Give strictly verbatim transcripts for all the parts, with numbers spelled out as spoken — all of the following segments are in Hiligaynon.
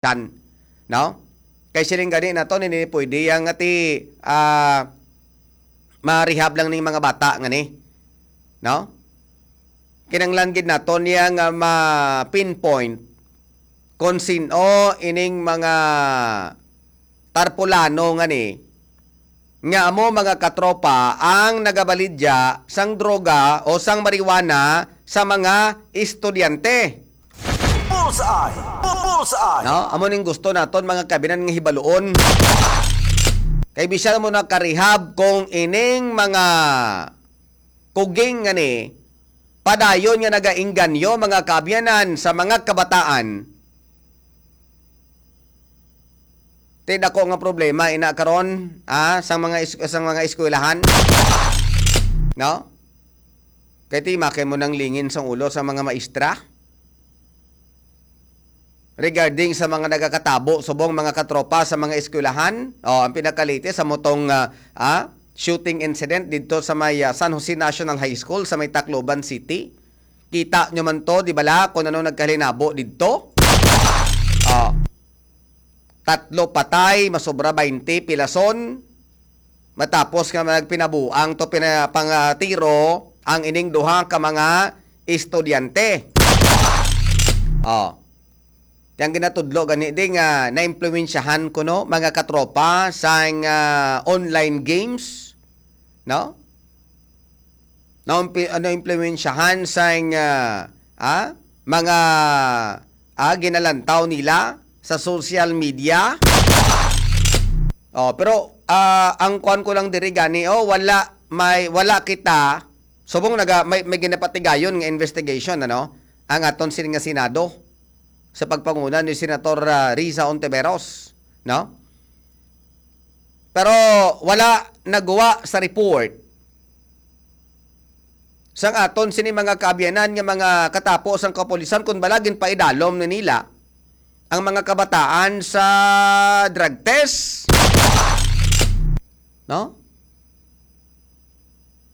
Chan, no? Kay siling gani naton, hindi pwede yang ati, ah, ma-rehab lang ning mga bata nga ni, no? Kinahanglan gid naton yang, ah, ma-pinpoint kung sin-o ining mga tarpulano nga ni, nga amo, mga katropa, ang nagabalidya sang droga o sang marijuana sa mga estudyante. Bullseye! Bu-, bullseye! No? Amo ning gusto naton, mga kabinan, nga hibaluon. Kay bisan mo nakarehab, kung ining mga kuging nga ni, padayon nga nagaingganyo, mga kaabyanan, sa mga kabataan, ti dako nga problema ina karon, ah, sang mga es-, sang mga eskwelahan, no? Kay ti makin mo nang lingin sang ulo sa mga maestra regarding sa mga nagakatabo subong, mga katropa, sa mga eskwelahan. O, ang pinakalatest sa mutong, ah, ah, shooting incident didto sa may, ah, San Jose National High School sa may Tacloban City. Kita nyo man to, di bala, kung ano nagkalinabo didto? O, tatlo patay, masobra baynte pilason. Matapos nga nagpinabuang to, pina-, pang, ah, tiro ang ining duha ka mga estudyante. O. Ti ang ginatudlo gani di nga naimpluwensyahan kuno, mga katropa, sang, ah, online games, no? Naumpi-, ah, naimpluwensyahan sang, ah, ah, mga, ah, ginalantaw nila sa social media. O, pero, ah, ang kuwan ko lang diri gani, o, wala, may, wala kita, subong naga-, may, may ginapatigayon nga investigation, ano, ang aton sini nga Senado sa pagpanguna ni Senator, ah, Riza Ontiveros, no? Pero wala naguwa sa report sang aton sini mga kaabyanan nga mga katapo sang kapulisan, kun bala ginpaidalom na nila ang mga kabataan sa drug test, no?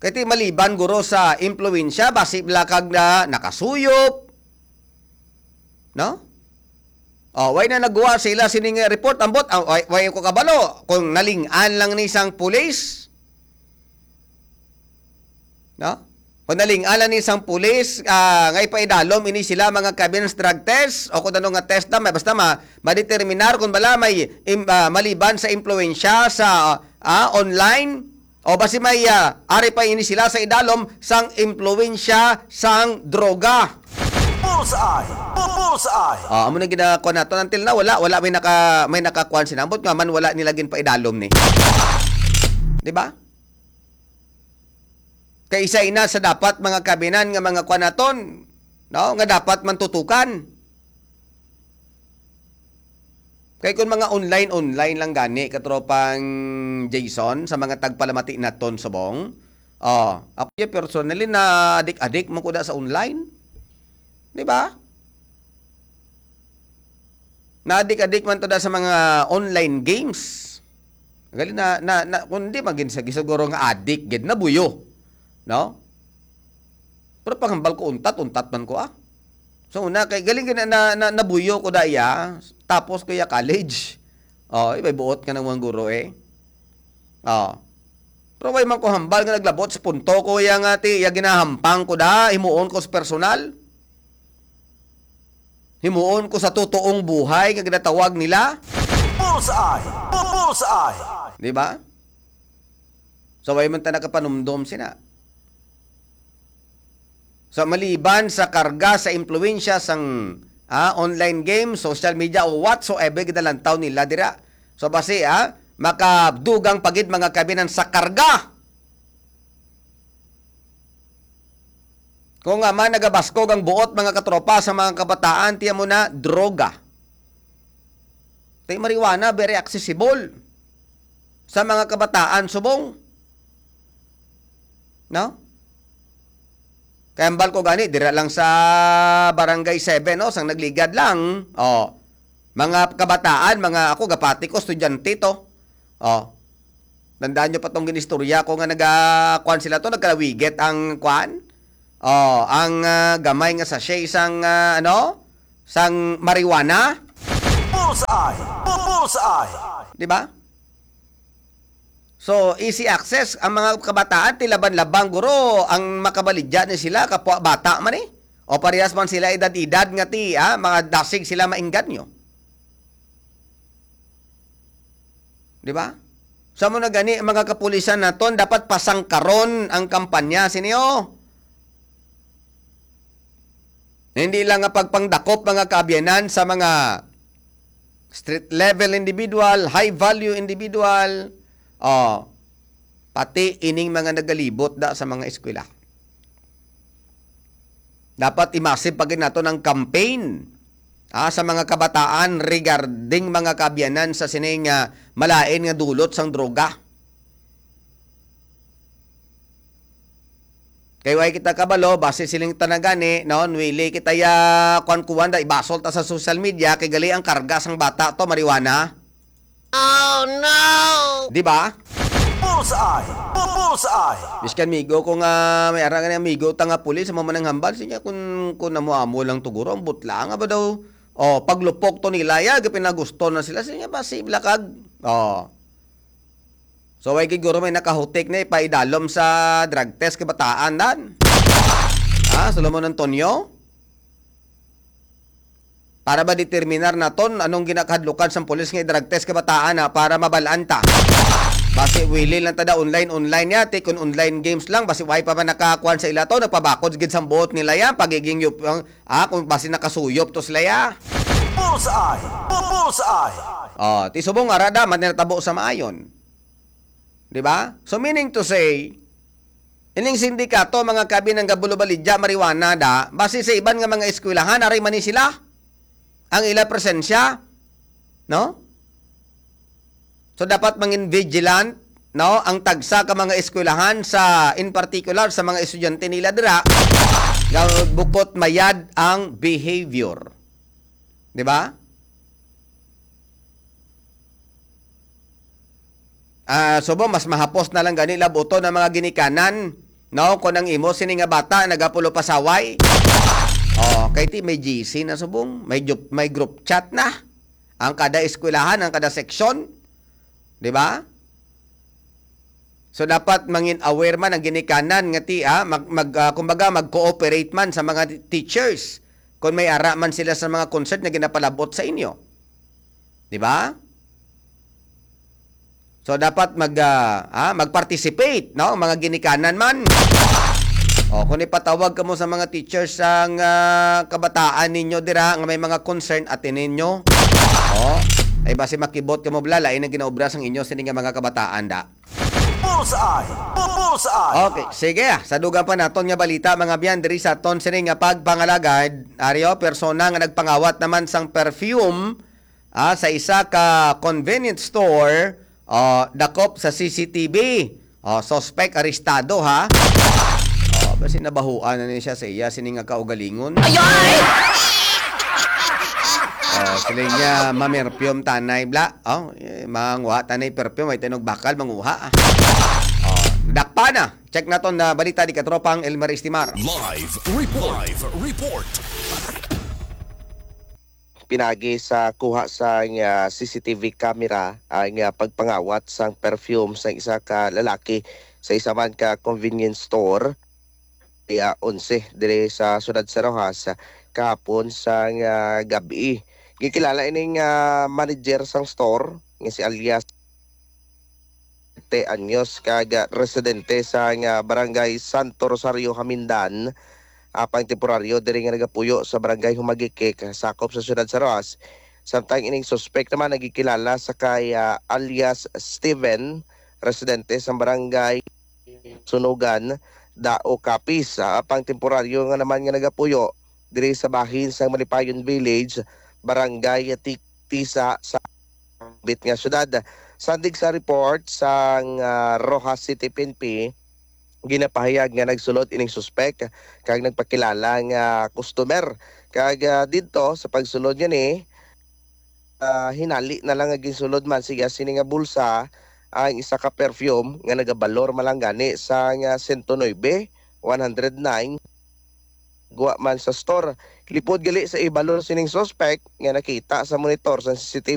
Kay ti maliban guro sa impluwensya, basi bala kag na nakasuyop, no? O, way na nagwa sila sining report, ambot, ah, way, way ko kabalo kung naling-an lang ni sang pulis, no? Kung naling-an lang ni sang pulis, ah, nga ipaidalom ini sila, mga kaabyanan, sa drug test o kung ano nga test na, may, basta ma-, madeterminar kung bala may im-, ah, maliban sa impluwensya sa, ah, online, o basi may, ah, ari pa ini sila sa idalom sang impluwensya sang droga. Bullseye! Bu-, bullseye! Ah, amo na ginakuha naton. Until now, wala, wala may naka-, may nakakuan sinambot nga man wala nila ginpaidalom ni. Di ba? Kay isa ina sa dapat, mga kaabyanan, nga mga kuan naton, no, nga dapat man tutukan. Kay kung mga online-online lang gani, katropang Jason, sa mga tagpalamati naton subong, o, ako ya personally, naadik-adik man ko da sa online. Di ba? Naadik-adik man to da sa mga online games. Gali na, na, na, kung di man gid sa, siguro nga adik gid, nabuyo. No? Pero panghambal ko, untat, untat man ko, ah. So, una, kay galing gid na, na, na, nabuyo ko da iya, tapos ko iya college. O, iba'y buot ka ng mga guro, eh. O. Pero way man ko hambal nga naglabot sa punto ko iya nga ti, iya ginahampang ko da, himuon ko sa personal. Himuon ko sa totoong buhay nga ginatawag nila. Bullseye! Bu-, bullseye! Di ba? So, way man ta nakapanumdom sina. So, maliban sa karga sa impluwensya sang, ah, online game, social media, o whatsoever ginalantaw nila dira. So, basi, ah, makadugang pa gid, mga kaabyanan, sa karga. Kung nga man nagabaskog ang buot, mga katropa, sa mga kabataan, tiyan mo na, droga. Tay marijuana, very accessible sa mga kabataan subong. No? Kay hambal ko gani, dira lang sa Barangay Seven, no? Sang nagligad lang. O, mga kabataan, mga, ako, gapati ko, estudyante to. O, tandaan nyo pa tong ginistorya ko nga naga-, kuwan sila to, nagkalawigit ang kuwan. O, ang, ah, gamay nga sachet sang, ah, ano? Sang marijuana. Bullseye! Bullseye! Di ba? So, easy access ang mga kabataan, ti laban-laban guro ang makabaligya ni sila, kapwa bata man eh. O parehas man sila edad-edad nga ti, ah, mga dasig sila maengganyo. Di ba? Sa mo na gani, mga kapulisan naton, dapat pasangkaron ang kampanya sini, oh. Hindi lang nga pagpangdakop, mga kaabyanan, sa mga street level individual, high value individual, oh, pati ining mga nagalibot da sa mga eskwela. Dapat imasib pa gid naton ang campaign, ah, sa mga kabataan regarding mga kaabyanan sa sini nga malain nga dulot sang droga. Kay way kita kabalo, basi siling ta na gani, no, wili kita ya kuan-kuan da, ibasol ta sa social media, kay gali ang karga sang bata to, marijuana. Oh, no! Di ba? Bullseye! Bullseye! Biskan migo ko nga, may ara nga amigo ta nga pulis, amo man ang hambal, siya kun, kun amo-amo lang to guro, ang butla nga ba daw? Oh, paglupok to nila, ya, gapinagusto na sila, siya, basi blakag. Oh. So, way gid guro may nakahutik na ipaidalom sa drug test kabataan, dan? Ha, Solomon Antonio? Para ba determinar naton anong ginakahadlukan sang pulis nga i-drug test kabataan, ha, para mabalaan ta? Basi wili lang ta da online, online ya, ti kun online games lang, basi way pa man nakakuan sa ila to, nagpabakod gid sang buot nila ya, pagiging yup-, ang, ah, kung basi nakasuyop to sila ya. Bullseye! Bullseye! Oh, ti subong ara da, man natabo sa maayon. Di ba? So, meaning to say, ining sindikato, mga kabi, nga gabulo-baligya marijuana da, basi sa iban nga mga eskwelahan, ari man ni sila ang ila presensya, no? So, dapat mangin vigilant, no, ang tagsa ka mga eskwelahan sa, in particular, sa mga estudyante nila dira, nga bukot mayad ang behavior. Di ba? Ah, subong, mas mahapos na lang gani labuton ang mga ginikanan, no? Kung ang imo sini nga bata nagapulopasaway. Oh, kay ti may G C na subong, may jup-, may group chat na. Ang kada eskwelahan, ang kada seksyon, di ba? So, dapat mangin aware man ang ginikanan nga ti, ah, mag, mag, ah, kumbaga, mag-cooperate man sa mga teachers kung may ara man sila sa mga concern nga ginapalabot sa inyo. Di ba? So, dapat mag, ah, ah, mag-participate, no? Mga ginikanan man. O, kung ipatawag kamo sa mga teachers sang, ah, kabataan ninyo dira nga may mga concern, atinin ninyo. O, ay basi makibot kamo bala, lain ang ginaobra sang inyo sini nga mga kabataan da. Bullseye! Bullseye! Okay, sige, ah. Sa dugang pa naton nga balita, mga biyan, diri sa aton sini nga pagpangalagad, ari, o, persona nga nagpangawat naman sang perfume, ah, sa isa ka convenience store, ah, dakop sa C C T V. O, suspect arestado, ha? O, basi nabahuan na ni siya sa iya sini nga kaugalingon. Ayay! O, sila niya, mamerpium tanay, bla. O, eh, manguha tanay perfume, ay tinog bakal, manguha, ah. O, dakpa na. Check naton na balita di katropang Elmer Estimar. Live report. Live report. Pinagi sa kuha sang, ah, C C T V camera ang, ah, pagpangawat sang perfume sang isa ka lalaki sa isa man ka convenience store, iya onse diri sa siyudad sa Roxas kahapon sang, ah, gab-i. Gikilala ining, ah, manager sang store nga si alias te anyos kag, ah, residente sa nga Barangay Santo Rosario, Jamindan, apang temporaryo diri nga nagapuyo sa Barangay Humagique, sakop sa siyudad sa Roxas. Samtang ining suspek naman nagikilala sa kay, ah, alias Steven, residente sa Barangay Sunugan, Dao, Capiz, ah, apang temporaryo nga naman nga nagapuyo diri sa bahin sang Malipayon Village, Barangay Ti-, Tisa sa bit nga syudad. Sandig sa report sang, ah, Roxas City P N P, ginapahayag nga nagsulod ining suspek kag nagpakilala nga customer. Kag, ah, didto sa pagsulod niya ni, ah, hinali na lang nga ginsulod man siya sini nga bulsa ang isa ka perfume nga nagabalor man lang gani sa nga sento nuebe, one hundred nine, gwa man sa store. Lipod gali sa ibalor sining suspect nga nakita sa monitor sa C C T V